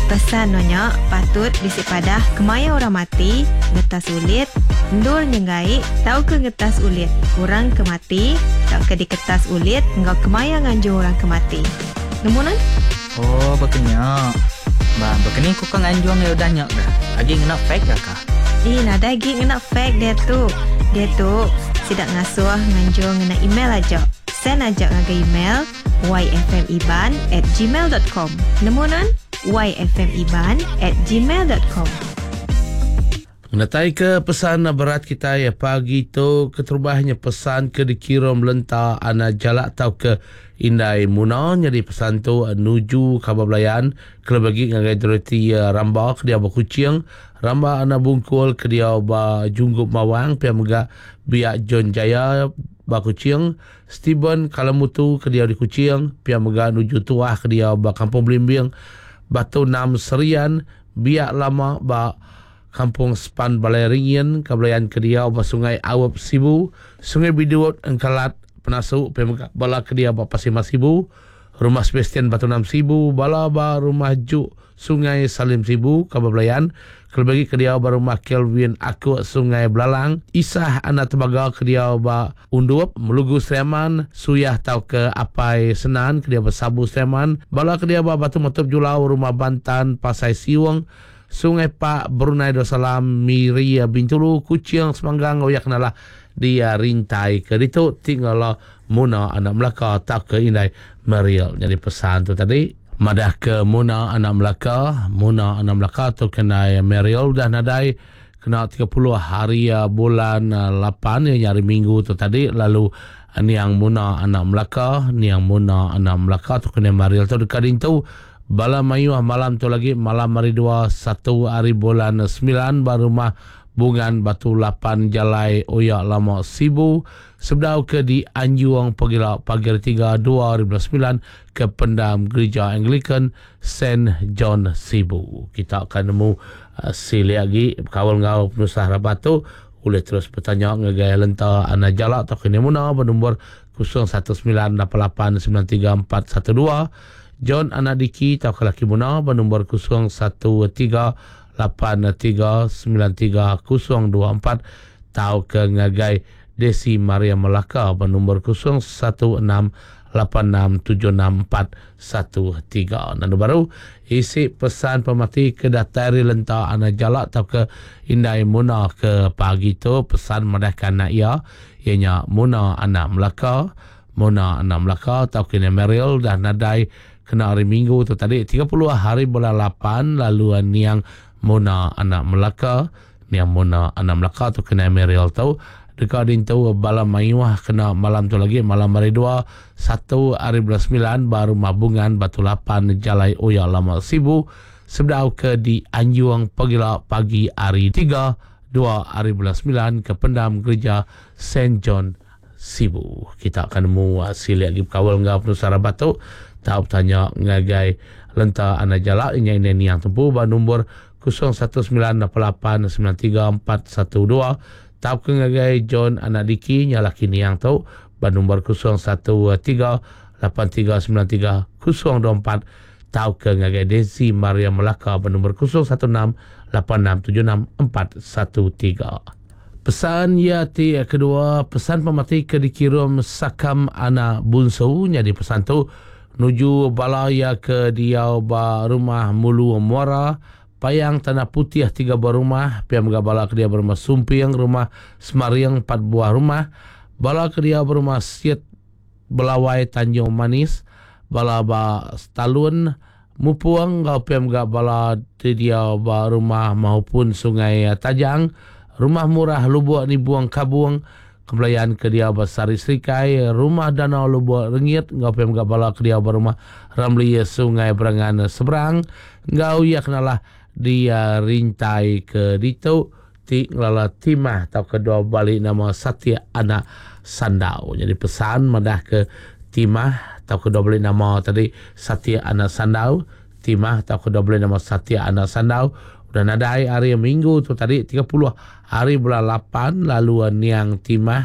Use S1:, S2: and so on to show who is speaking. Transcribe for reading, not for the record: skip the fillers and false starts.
S1: Pesan nuan nya patut bisi padah kemaya orang mati, ngetas ulit, endur nyenggai tauka ngetas ulit orang ke mati tauka diketas ulit enggau kemaya nganjung orang ke mati. Nemu nuan?
S2: Oh baka nya. Ba baka ni ku ka nganjung iya udah nya ga. Agi ngena fax ga ka?
S1: Ih nadai agi ngena fax diatu. Diatu sida ngasuh nganjung ngena email aja. Send aja ngagai email yfmiban at gmail dot com. Nemu nuan? yfmiban at gmail dot com.
S3: Ngenatai ke pesan berat kitai pagi tu keterubah nya pesan ke dikirum lenta anak jalak tauka indai Muna nyadi pesan tu nuju kaban belayan kelebih agi ngagai Dorothy Ramba ke diau ba Kuching, Ramba anak Bungkul ke diau ba Junggup Mawang pia mega Biak John Jaya ba Kuching, Steven Kalamutu ke diau di Kuching, pia mega nuju Tuah ke diau ba Kampung Belimbing, Batu Enam Serian, Biak Lama ba Kampung Sepan Balai Ringin, Kabelayan ke diau ba Sungai Aup Sibu, Sungai Bidut, Engkalat, Penasu, pia mega bala ke diau ba Pasir Mas Sibu, Rumah Sebastian Batu Enam Sibu, bala ba Rumah Juk Sungai Salim Sibu, Kaban Belayan, kelebih agi ke diau ba Rumah Kelvin Akuk Sungai Belalang, Isah anak Tembaga ke diau ba Undup, Melugu Sri Aman, Suyah tauka Apai Senan ke diau ba Sabu Sri Aman, bala ke diau ba Batu Metup Julau, Rumah Bantan, Pasai Siung, Sungai Pak, Brunei Darussalam, Miri, Bintulu, Kuching, Semanggang enggau iya ke nalah di Rintai ke ditu ti ngelala Muna anak Melaka tauka indai Meriel. Nyadi pesan tu tadi madah ke Muna anak Melaka, Muna anak Melaka tu ke indai Meriel udah nadai kena 30 hari bulan 8 iya nya hari Minggu tu tadi lalu niang Muna anak Melaka, niang Muna anak Melaka tu ke indai Meriel tu deka dintu bala mayuh malam tu lagi malam hari dua satu hari bulan 9 ba rumah Bungan Batu Lapan Jalai Oya Lama Sibu Sebedau ke dianjung pagila pagi Hari Tiga 2009 ke pendam Gerija Anglican Saint John Sibu. Kita akan nemu silik agi bekaul enggau penusah rabat tu ulih terus betanya ngagai Lenta Ana Jala tauka Nia Muna ba nombor 0198893412, John Ana Diki tauka Laki Muna ba nombor 0138393024 tauka ngagai Desi Maria Melaka ba nombor 0168676413. Nandu baru, isi pesan pemati ke datai ari Lenta Anak Jalak tauka Indai Muna ke pagi tu pesan madahka anak iya, iya nya Muna Anak Melaka, Muna Anak Melaka tauka Indai Meryl udah nadai kena hari Minggu tu tadi 30 hari bulan 8 lalu niang Muna Anak Melaka Niang Muna Anak Melaka tu kena Meriel tu deka dintu bala mayuh kena malam tu lagi malam hari dua satu hari bulan semilan ba Rumah Bungan Batu Lapan Jalai Oya Lama Sibu sebedau ke dianjung pagila pagi hari tiga dua hari bulan semilan ke pendam Gerija Saint John Sibu. Kita akan nemu silik agi bekaul enggau penusah rabat tu tau betanya ngagai Lenta Anak Jalak inya indai niang tempu ba nombor 0198893412 tauka ngagai John Anak Diki nya laki niang tu ba nombor 0138393024 tauka ngagai Daisy Maria Melaka ba nombor 0168676413. Pesan iya ti kedua, pesan pemati ke dikirum Sakam Anak Bunsu nyadi pesan tu nuju bala iya ke diau ba Rumah Mulu Muara, Payang Tanah Putih tiga buah rumah, pia mega bala ke diau ba Rumah Sumping, Rumah Semaring empat buah rumah, bala ke diau ba Rumah Sit Belawai Tanjung Manis, bala ba Stalun, Mupung enggau pia mega bala ti diau ba rumah maupun Sungai Tajang, Rumah Murah Lubok Nibung Kabung, Kebelayan ke diau ba Sari Serikai, Rumah Danau Lubok Rengit enggau pia mega bala ke diau ba Rumah Ramli Sungai Berangan Seberang enggau iya kenalah di rintai ke ditu ti ngelala Timah tauka dua bali nama Satik anak Sandau. Nyadi pesan madah ke Timah tauka dua bali nama tadi Satik anak Sandau, Timah tauka dua bali nama Satik anak Sandau udah nadai hari Minggu tu tadi 30 hari bulan 8 lalu niang Timah.